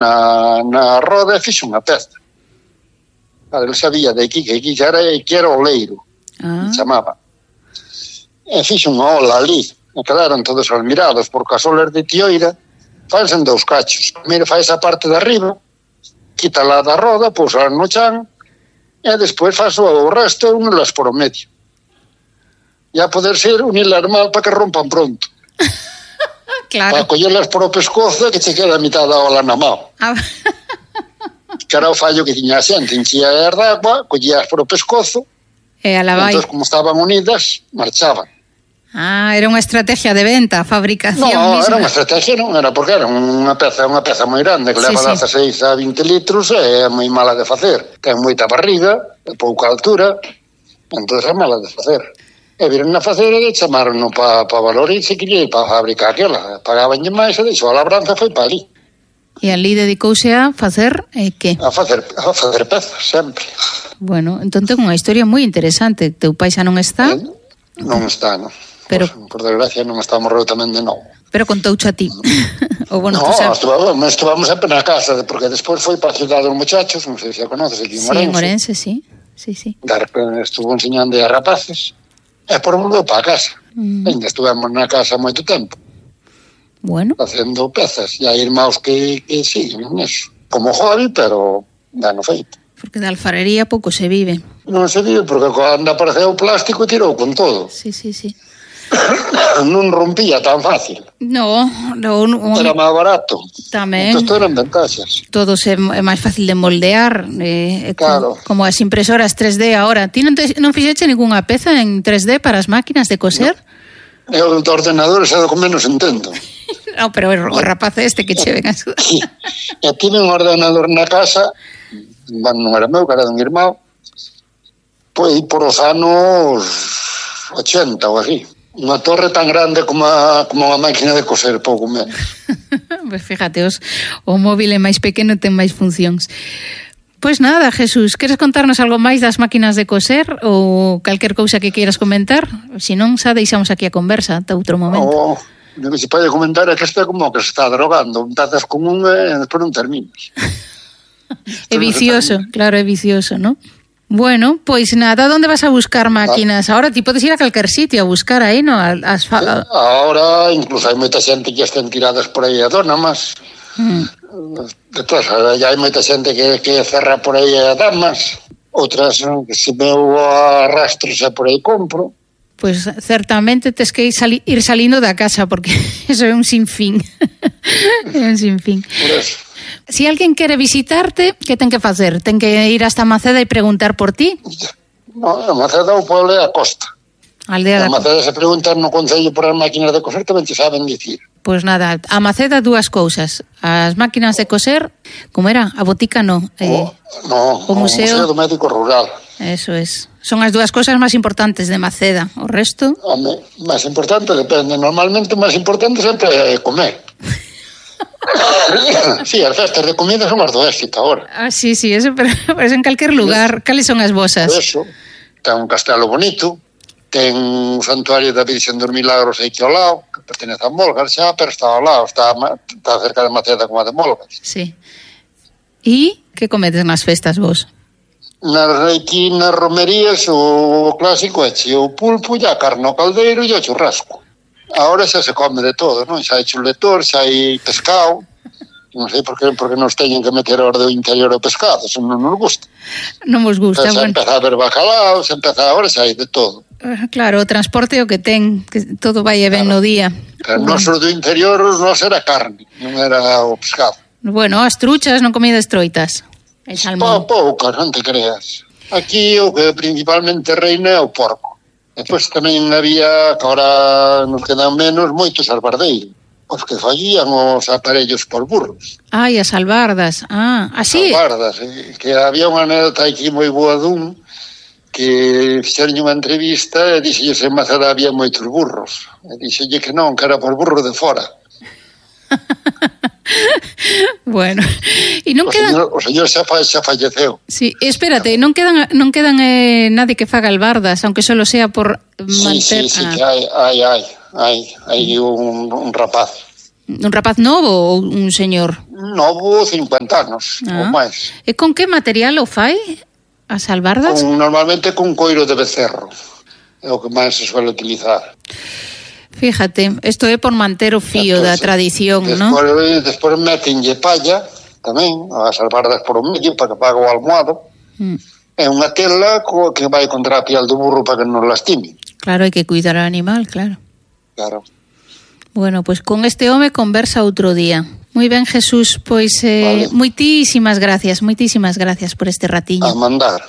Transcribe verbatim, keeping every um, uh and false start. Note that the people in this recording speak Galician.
na, na roda e fixo unha peza. Claro, ele sabía de aquí, que aquí que era, que era oleiro, ah. chamaba. E fixo unha ola ali, e quedaron todos admirados, porque as olas de tioira faise en dous cachos. Primeiro faz a parte de arriba, quítala da roda, pousa no chan, e despois faz o resto unilas por o medio. E a poder ser unilas mal para que rompan pronto. Claro. Para collerlas por o pescozo e que che queda a mitad da ola na mão. Ah. Que era o fallo que tiña a xente, enchía as de agua, collías por o pescozo, e a la vai. Entón, como estaban unidas, marchaban. Ah, era unha estrategia de venta, fabricación no, misma. No, era unha estrategia, non era porque era unha peza, unha peza moi grande, que sí, leva sí. dezasseis a vinte litros, e é moi mala de facer. Ten moita barriga, pouca altura, entón é mala de facer. E viron a facer e chamaron para pa valor e se quería ir para fabricar aquela. Pagaban máis e deixou a labranza, foi para ali. E ali dedicouse a facer eh, que? A facer, a facer pezas, sempre. Bueno, entón ten unha historia moi interesante. Teu pai xa non está? Eh, non está, non. Pero... Pues, por desgracia non está morreu tamén de novo. Pero contouche a ti. O bueno, no, sempre... estuvamos, estuvamos sempre na casa, porque despois foi para a Cidade dos Muchachos, non sei se a conoces, aquí en Orense. Sí, en Orense, sí. sí, sí. De repente estuvo enseñando a rapaces, e por volveu para a casa. Mm. Ainda estuvemos na casa moito tempo. Bueno. Facendo pezas, e hai irmãos que, que siguen neso. Como hobby, pero dano feito. Porque de alfarería pouco se vive. Non se vive, porque cando apareceu o plástico tirou con todo. Sí, sí, sí. Non rompía tan fácil. No, no, no era máis barato. Tamén. Entón, eran ventaxas. Todo é máis fácil de moldear, eh, claro. como, como as impresoras tres D agora. Ti non, te, non fixeche ningunha peza en tres D para as máquinas de coser? No. Eu do ordenador é o que menos entendo. No, pero o rapaz este que che ven a sudar. Sí. E tive un ordenador na casa, non era meu, que era dun irmão, pois por os anos ochenta ou así. Unha torre tan grande como a, como a máquina de coser, pouco menos. Pues fíjate, os, o móvil é máis pequeno e ten máis funcións. Pois nada, Jesús, queres contarnos algo máis das máquinas de coser ou calquer cousa que queiras comentar? Se non, xa deixamos aquí a conversa ata outro momento. O que se pode comentar é que este é como que se está drogando. Empezas con un e despois non terminas. É vicioso, claro, é vicioso, ¿no? Bueno, pois nada, onde vas a buscar máquinas? Ah. Ahora ti podes ir a calquer sitio a buscar aí, no? As fa... sí, ahora incluso hai moita xente que estén tiradas por aí a donamas. Mm. Depois, hai moita xente que, que cerra por aí a damas. Outras que se veu a rastros e por aí compro. Pois certamente tes que ir, sali, ir salindo da casa, porque eso é un sinfín. É un sinfín. Por eso. Si alguén quere visitarte, que ten que facer? Ten que ir hasta Maceda e preguntar por ti? No, a Maceda o pueblo é a costa. Aldea a Maceda se preguntan no concello por as máquinas de coser, tamén te saben dicir. Pois nada, a Maceda dúas cousas. As máquinas de coser, como era? A botica no. Eh, o, no, o museo, o museo do médico rural. Eso es. Son as dúas cousas máis importantes de Maceda. O resto? Home, máis importante depende. Normalmente o máis importante sempre é comer. Sí, as festas de comida son as do éxito agora. Ah, sí, sí, eso, pero, pero en calquer lugar. Cales son as vosas? Eso, ten un castelo bonito, ten un santuario da Virxen dos Milagros aquí ao lado, que pertenece a Molgas xa, pero está ao lado, está, está cerca de Maceda como a de Molgas. Sí. E que comedes nas festas vos? Nas aquí nas romerías o clásico é o pulpo e a carne ao caldeiro e o churrasco. Ahora xa se come de todo, non? Xa hai chuletor, xa hai pescado. Non sei por que, porque nos teñen que meter ao do interior o pescado, se non nos gusta. Non vos gusta, xa bueno. Xa empeza a haber bacalao, xa empeza ahora, xa hai de todo. Claro, o transporte o que ten, que todo vai e ben claro. No día. Pero bueno. Noso do interior non era carne, non era o pescado. Bueno, as truchas non comidas troitas. E salmón. Poucas, non te creas. Aquí o que principalmente reina é o porco. Depois tamén había, que agora nos quedan menos, moitos albardeiros. Os que fallían os aparellos por burros. Ai, as albardas. Ah, así. Albardas, eh, que había unha anécdota aquí moi boa dun que fixeron unha entrevista e dixelle se en Maceda había moitos burros. E dixelle que non, que era por burro de fora. Bueno, e non o quedan... Señor, o señor xa, fa, xa falleceu. Sí, espérate, non quedan non quedan eh, nadie que faga albardas, aunque solo sea por manter... Sí, sí, sí, ah. que hai, hai, hai, hai, hai un, un rapaz. Un rapaz novo ou un señor? Novo, cincuenta anos, ah. ou máis. E con que material o fai as albardas? Con, normalmente con coiro de becerro, é o que máis se suele utilizar. Fíjate, isto é por manter o fío entonces, da tradición, non? Despois, despois metenlle palla, tamén, as albardas por o medio, para que pague o almohado. Mm. É unha tela co, que vai contra a piel do burro para que non lastime. Claro, hai que cuidar ao animal, claro. Claro. Bueno, pois pues con este home conversa outro día. Moi ben, Jesús, pois eh, vale. moitísimas gracias, moitísimas gracias por este ratiño. A mandar.